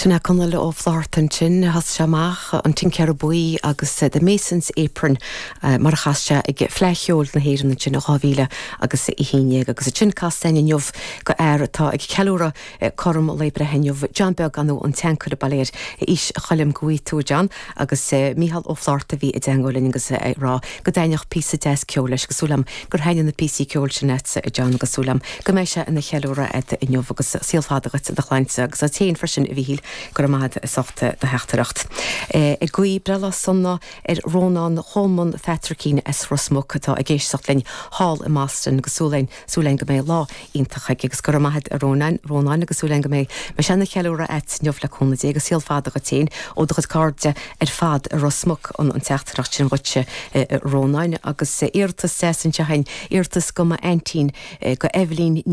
Sin é Conall Ó Flátharta ansin. Thosaigh sé amach An Tincéara Buí agus The Mason's Apron mar a chas sé ag Fleadh Cheoil na hÉireann ansin i 2011 agus ansin casta againn inniu go fhear atá ag ceiliúradh cothrom lae breithe inniu, John Beag nó an tSeancaire bail air aois Choilm go bhfaighidh tú a John agus Mícheál Ó Flátharta a bhí i dteangmháil linn agus é ag rá go dtaitneodh píosa deas ceoil leis agus súil agam gur thaitnigh na píosaí ceoil sin leatsa a John agus súil agam go mbeidh sé ina cheiliúradh agat inniu agus saol fada dhuit, do chlainnse agus duit féin freisin a Mhíchíl, go raibh maith agat as ucht do theachtaireacht. Ag guí breithlá sona ar Rónán Cholmáin Phatraicín as Ros Muc atá ag éisteacht linn thall i mBoston agus súil againn súil againn go mbeidh lá iontach aige agus go raibh maith agat a Rónáin, Rónáin agus súil againn go mbeidh mbeidh sé ina cheiliúradh agat inniu le cúnamh Dé agus saol fada dhuit féin ó do chuid cairde ar fad i Ros Muc an an teachtaireacht sin dhuitse a Rónáin agus iarratas deas anseo againn, iarratas go m'aintín, go Eibhlín Ní.